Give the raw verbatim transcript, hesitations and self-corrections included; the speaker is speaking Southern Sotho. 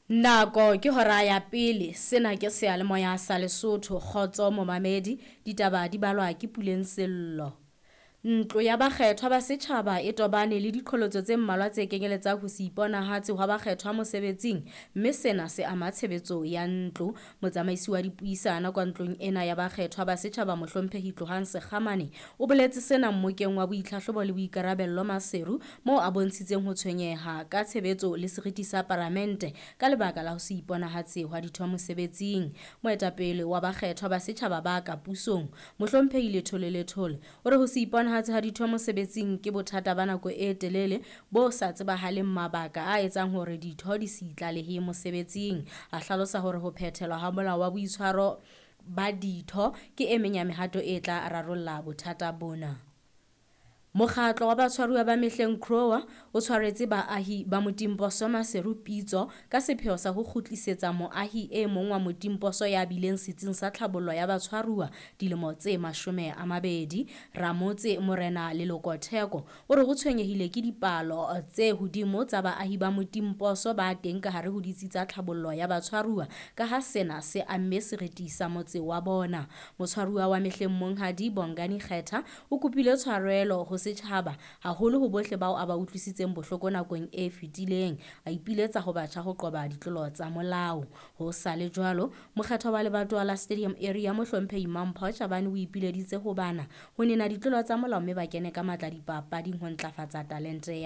Nako ke hora ya pele, sena ke seyalemoya sa Lesotho. Kgotso momamedi, ditaba di balwa ke Puleng Sello. Ntlo ya bakgethwa ba setjhaba e tobane le diqholotso tse mmalwa tse kenyeletsang ho se iponahatse hwa bakgethwa mosebetsing, mme sena se ama tshebetso ya ntlo. Motsamaisi wa dipuisano kwa ntlong ena ya bakgethwa ba setjhaba Mohlomphehi Tlohang Sekgamane o boletse sena mmokeng wa boitlhahlobo le boikarabello Maseru, moo a bontshitseng ho tshwenyeha ka tshebetso le seriti sa paramente ka lebaka la ho se iponahatse hwa ditho mosebetsing. Moetapele wa bakgethwa ba setjhaba ba ka pusong Mohlomphehi Lethole Lethole o re ho se iponahatse ha ditho mosebetsing ke bothata ba nako e telele bo sa tsebahaleng mabaka a etsang hore ditho di se itlalehe mosebetsing. A hlalosa hore ho phethelwa ha molao wa boitshwaro ba ditho ke e meng ya mehato e tla rarolla bothata bona. Mokgatlo wa batshwaruwa ba mehleng C R O A o tshwaretse baahi ba Motimposo Maseru pitso ka sepheo sa ho kgutlisetsa moahi e mong wa Motimposo ya bileng setsing sa tlhabollo ya batshwaruwa dilemo tse mashome a mabedi. Ramotse Morena Leloko Theko o re o tshwenyehile ke dipalo tse hodimo tsa baahi ba Motimposo ba teng ka hare ho ditsi tsa tlhabollo ya batshwaruwa, ka ha sena se amme seriti sa motse wa bona. Motshwaruwa wa mehleng Monghadi Bongani Kgetha o kopile tshwarelo ho setjhaba, haholo ho bohle bao a ba utlwisitseng bohloko nakong e fetileng. A ipiletsa ho batjha ho qoba ditlolo tsa molao. Ho sa le jwalo, mokgethwa wa lebatowa la Stadium Area Mohlomphehi Mampho Chabane o ipileditse ho bana ho nena ditlolo tsa molao mme ba kene ka matla dipapading ho ntlafatsa talente ya